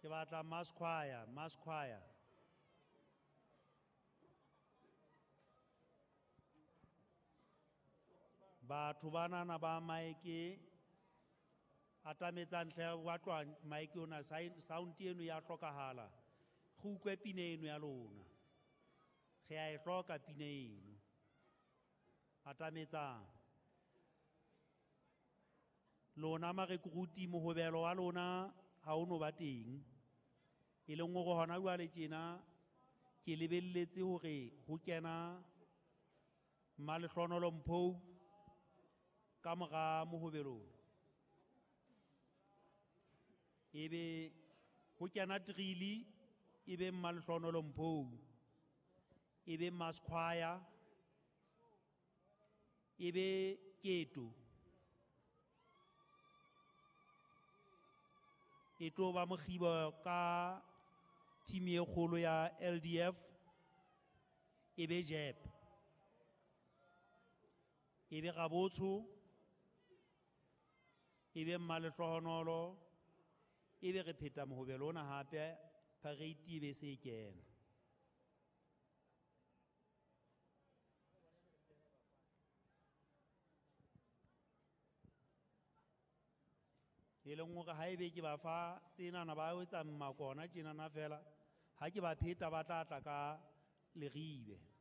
Ke batla mass choir, mass choir. Batho banana ba maeke atametsang hle wa tloha maeke ona sound eno ya hlokahala. Re utlwe pina eno ya lona. Re a e hloka pina eno. Atametsang. Lona marekruti mohobelo wa lona ha o no ba teng. E leng hore hona jwale tjena ke lebelletse hore ho kena Mmalehlohonolo Mphou ka mora mohobelo. Ebe ho kena Trili, ebe Mmalehlohonolo Mphou, ebe mass choir, ebe Keto. E tlo ba mokgibo ka team e kgolo ya LDF, ebe Jep. Ebe Rabotsho, ebe Mmalehlohonolo, ebe re pheta mohobelo ona hape, parade ebe se e kena. E leng hore ha ebe ke ba fa tsenana ba etsa mmakona tjenana fela, ha ke ba pheta ba tla tla ka leribe.